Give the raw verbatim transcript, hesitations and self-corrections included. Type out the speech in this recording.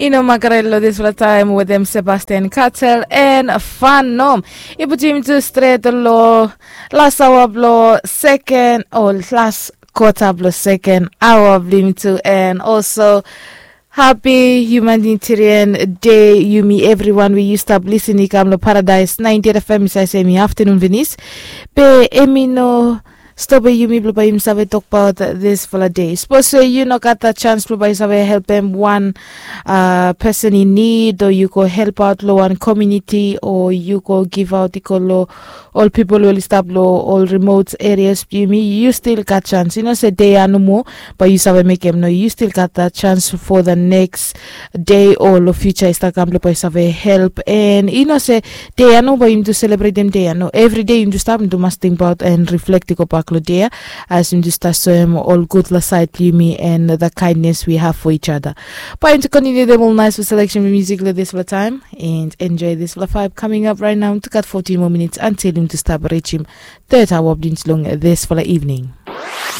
I no makarel long dispela taim wetem Sebastian Cartel and Fanom. I putim tu stret long las awa bilong seken o las kota bilong seken awa bilong tu, and also happy humanitarian day yumi everyone we yu stap lisin i kam long Paradise ninety F M i save sem i aftanun finis. Be em i no stop yumi bilong bai yumi save tokbaot dispela de. Sapos yu no gat dat chance bilong bai yu save helpim wan uh, person in need, o yu go help out long wan community, o yu go give out i go long ol people wey i stap long ol remote areas bilong yumi, yu still gat chance. Yu no se de ya nomo bai yu save mekim, no, yu still gat dat chance for the next day o long future i stap kam bilong bai yu save help. And yu no se de ya nomo bai yumi tu selebretim de ya, no, every day yumi tu stap yumi tu mas tingbaot and reflect i go bak long de ya, as yumi tu stap soem ol gudfala sait bilong yumi and the kindness we have for each other. Bai yumi tu kontinu dem ol nice selection music long dispela taim and enjoy dispela vibe coming up right now. Yumi tu gat fourteen more minutes until yumi tu stap reachim third hour bilong yumi tu long dispela evening.